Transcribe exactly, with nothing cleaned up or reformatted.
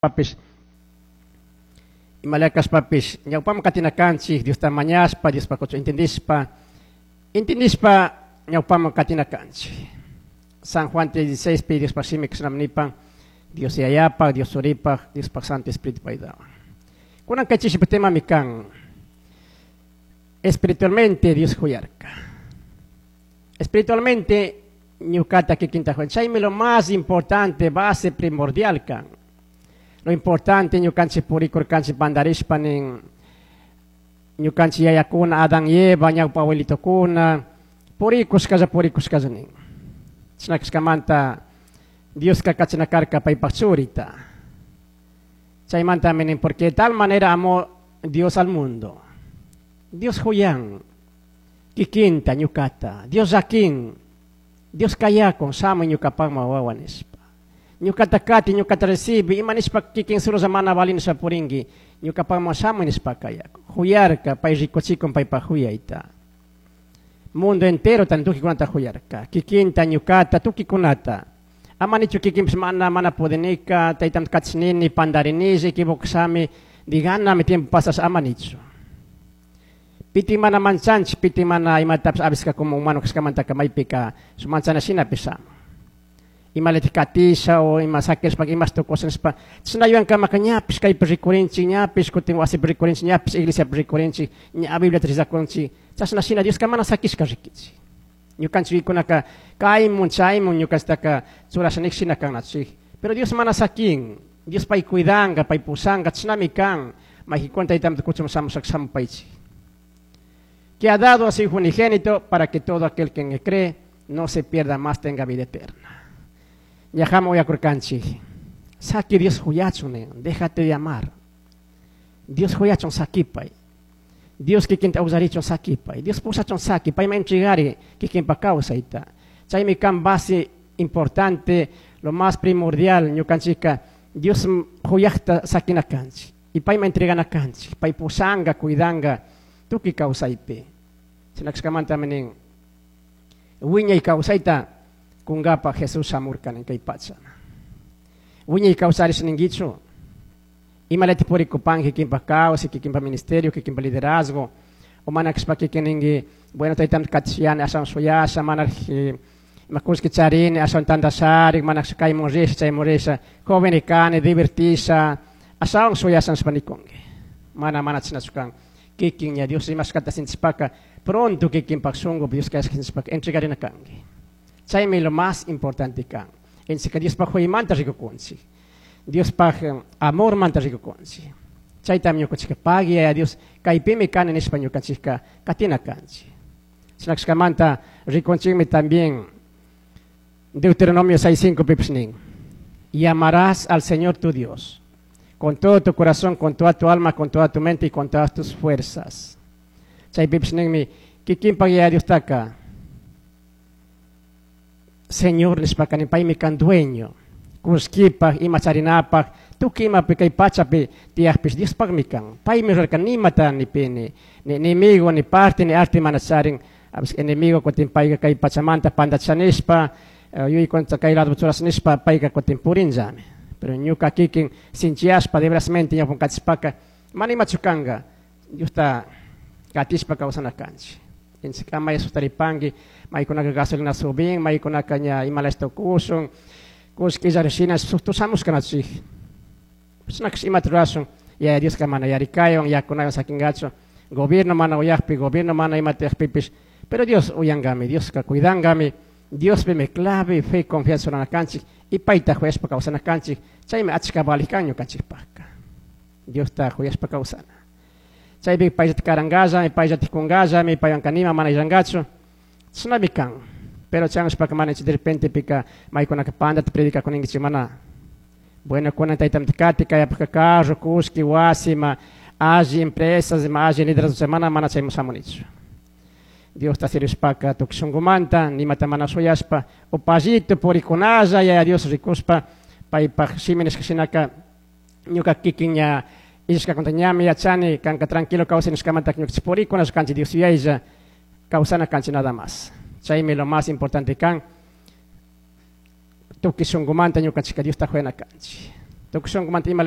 Papis imalakashpapish ñawpaman katinakanchik Diosta mañashpa Diospa intindishpa intindishpa ñawpaman katinakanchik. San Juan tres dieciséis pi Diospa shimi kashnami nipan: Dios Yayapaj, Dios Churipaj, Diospaj Santo Espíritu ayudawan. Kunan kay chishipi temami kan espiritualmente Dios huyarka. Espiritualmente ñukata kikinta huyan. Chaymi lo más importante, base primordial kan. Lo importante, ñukanchik purikurkanchik pandarishpa nin ñukanchik yayakuna Adán y Eva, ñawpa abuelitokuna purikushkalla purikushkalla nin. Chashna kashkamanta Dioska kachana karka paypaj churita. Chaymantami nin, porque de tal manera amó Dios al mundo. Dios huyan kikinta ñukata. Dios llakin. Dios kayakun shamuy ñukapakman wawa nishpa. Ñukata kati, ñukata recibi, ima nishpa kikin solo mana valin purinki, ñukapakman shamuy nishpa kayakun. Huyarka, pay rikuchikun paypaj huyayta. Mundo entero tan tukikunata huyarka. Kikinta, ñukata, tukikunata. Ama nichu kikinpish mana mana pudinika, taytam kachinini, pandarinilla, equivocashami, diganami tiempo pasas, ama nichu. Piti mana manchanchik, piti mana imatapish avisca como humano kashkamantaka maypika su manchana shinapish shamun. Imalatik katisha o ima sakishpa imash tukusha nishpa chashna yuyankamaka ñapish kaypi rikurinchik, ñapish kutin wasipi rikurinchik, ñapish iglesiapi rikurinchik, ña Bibliata rezakunchik. Chashna shina Dioska mana sakishka rikichik. Ñukanchik kunaka kaymun chaymun ñukanchiktaka churasha nik shina kanachik. Pero Dios mana sakin, Dios pay cuidanga, pay pusanga, chashnami kan. Mayjikuna taytamanta kuchun shamushaka shamupaychik. Que ha dado a su Hijo unigénito para que todo aquel que en él cree no se pierda, más tenga vida eterna. Ñajama uyakurkanchik. Saki Dios huyachun, déjate de amar. Dios huyachun sakipay. Dios kikinta usarichun sakipay. Dios pusachun saki, payman entregari kikinpa kawsayta. Chaymi kan base importante, lo más primordial, ñukanchika Dios huyaqta sakina kanchik. Y payman entregana kanchik. Pay pusanga, cuidanga, tukuy kawsaypi. Chinakashkamantami nin, wiñay kawsayta kunkapa Jesús shamurka nin kay pacha. Wiñay kawsarish ninkichu. Imalati purikupanki kikinpa kawsay, kikinpa ministerio, kikinpa liderazgo. O mana kashpa kikin ninki, bueno, taytam katishiyani ashawan shuyasha, mana ima kullki charini, ashawan tandashari, mana kaymun risha, chaymun risha, joven kani, divertisha, ashawan shuyasha nishpa nikunki. Mana mana chashnachu kan. Kikin ña Dios imashkata sintishpaka, pronto kikinpak shunku Dios kashka sintishpaka, entregarina kanki. Chaymi lo más importante kan. Entonces, Diospaj huyaymanta rikukunchik. Diospaj amormanta rikukunchik. Chaytami ñukanchikka pagui a Dios, kaypimi kani nishpa ñukanchikka katina kanchik. Chinakashkamanta rikunchikmi también Deuteronomio seis cinco pipish nin: Y amarás al Señor tu Dios con todo tu corazón, con toda tu alma, con toda tu mente y con todas tus fuerzas. Chaypipish ninmi kikinpak Yaya Diostaka Señor nishpaka nin, paymi kan dueño. Kullkipaj, ima charinapaj, tukuy imapi kay pachapi tiyakpish Diospakmi kan. Paymi rurarka, nimata ni pi ni, ni enemigo, ni parte, ni arte mana charin. Enemigo kutin payka kay pachamanta pandachanishpa, yuyaykunata kay lado churashanishpa payka kutin purinllami. Pero ñuka kikin sinchiyashpa de verasmente ñawpan katishpaka mana imachu kanka, Diosta katishpa kawsana kanchik. Entonces ama sustaripanki, maykunaka gasolina subin, maykunaka ña imalash tukushun, kullki illari shina sushtushamushkanachik. Chashna imata rurashun, Yaya Dioska mana yarikaywan, yakunawan sakingachu, gobierno mana uyakpi, gobierno mana imata uyakpipish, pero Dios uyankami, Dioska cuidankami. Diospimi clave, fe, confianza rurana kanchik y payta huyashpa kawsana kanchik, chaymi achka valik kan ñukanchikpakka. Diosta huyashpa kawsana. Chaypi payllata karankallami, payllata kunkallami, paywanka nima mana illankachu, chashnami kan. Pero chanshpaka mana de repente pika maykunaka pandata predicakuninkichik mana. Bueno, kunan taytamanta kati kayapaka carro, kullki, wasi, ima alli empresas, ima alli liderazgo, mana mana chayman shamunichu. Diosta sirvishpaka tukuy shunkumanta, nimata mana shuyashpa, upallito purikunalla, Yaya Dios rikushpa, paypaj shimi nishka shinaka, ñuka kikin ña illashkakunata ñami yachani, kanka tranquilo kawsay nishkamanta ñukanchik purikunalla kanchik Dios yuyaylla, kawsana kanchik nada más. Chaymi lo más importante kan, tukuy shunkumanta ñukanchikka Diosta huyana kanchik. Tukuy shunkumanta ima